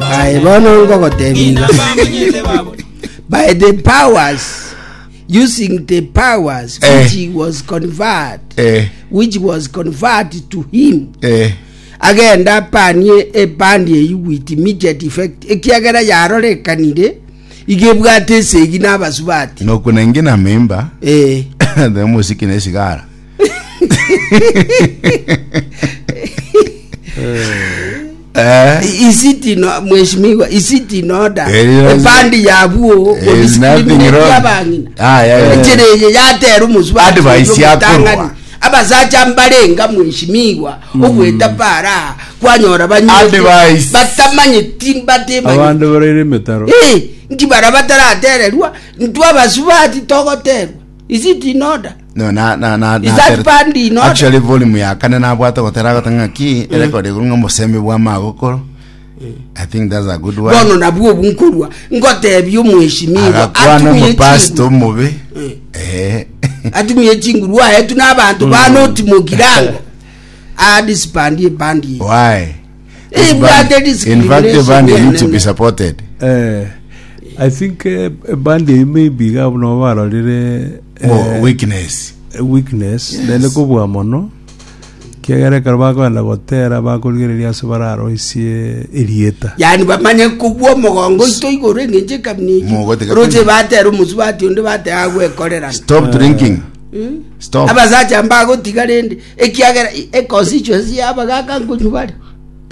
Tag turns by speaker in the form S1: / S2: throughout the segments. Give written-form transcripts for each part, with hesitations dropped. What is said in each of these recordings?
S1: Aye bono ngogotebia iga. By the powers using the powers
S2: Eh.
S1: which he was conferred
S2: Eh.
S1: which was conferred to him
S2: Eh.
S1: agenda apanie ebandi eyio with immediate effect ekiagera yarorekanire iga ebwate esegi na abasubati
S2: Nokuna inge na mimba.
S1: eh
S2: The musiki ne sigara. Eh.
S1: Is it in mheshimiwa is it in order
S2: Eh, yes.
S1: ebandi yabuo
S2: There's nothing wrong.
S1: abang'ina
S2: Ah, yeah, yeah.
S1: echere eye yatera omosubaati
S2: Advice
S1: oyo
S2: yakorwa.
S1: omotang'ani. abasacha mbarenga mheshimiwa ogweta para kwanyora banywete
S2: Advice.
S1: batamanyeti batemanyeti
S3: Abande baraire emetaro.
S1: Eh, nki bara bataratererwa ntwe abasubati togoterwa is it in order
S2: No, na na na
S1: Is that band in order?
S2: Actually volume ya kane nabwate gotera agota ng'aki erecord igoro ng'a omosemi bwa magokoro. I think that's a good one.
S1: bono nabwo obu nkorwa ngotebia omweshimiwa
S2: Agakwana
S1: atumie
S2: omopastor
S1: chinguru
S2: omobe. Eh.
S1: atumie chinguru aetu na abanto banoti mogirango adisbandie bandi eye.
S2: Why?
S1: Eh,
S2: This
S1: bwate
S2: band- In fact, the
S1: discrimination
S2: band need to be
S1: enene.
S2: supported.
S3: Eh, I think eh, ebandi eyio maybe iga buna barorire eh,
S2: Oh, weakness.
S3: weakness naende kobua mono kiagera ekero bakogenda gotera bakorigereria ase bararoisie erieta
S1: yani bamanye kobua omogongo oito igoro eng'encho ekamina eyio
S2: Mogotiga
S1: roche
S2: kunywa.
S1: batera omosubati onde bateba agwekorerana
S2: Stop drinking. Stop.
S1: abasacha mbagotiga rende ekiagera econstituency y'abagaka nkonywa bare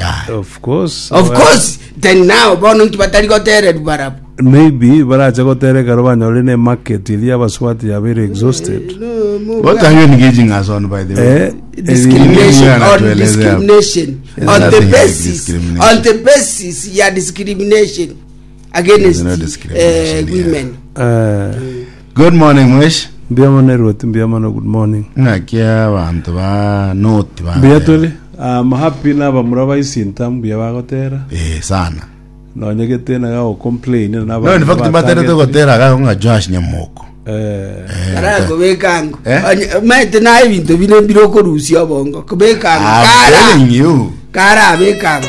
S2: Ah.
S3: of course
S1: of course then now bono nki batari gotererwa barabwo
S3: maybe barache gotera ekero banyorire ne market eria abaswati yabeire exhausted
S2: What are you engaging us on, by the way?
S3: eh,
S1: discrimination
S2: Eri-
S1: on
S2: Anatuelezea.
S1: discrimination
S2: There's
S1: on the
S2: nothing like
S1: basis
S2: discrimination.
S1: on the basis ya discrimination against
S2: There's no discrimination
S1: eh,
S2: here.
S1: women
S3: eh,
S2: Good morning, Mwesh.
S3: mbuya mono erwoti mbuya mono good morning
S2: Ng'aki abanto ba noti ba.
S3: mbuya tore I'm happy na abamura ba Isinta mbuya bagotera
S2: Eh, sana.
S3: nonye gete na gago complain na
S2: No, in fact, mbaterete gotera gago ng'a Josh Nyamoko.
S3: eh
S2: Eh,
S1: arakobeka ango
S2: Eh?
S1: Onye- maete naye ebinto bire mbire okorusia obongo kobeka ango
S2: I'm
S1: kara
S2: telling you.
S1: kara abeka ango.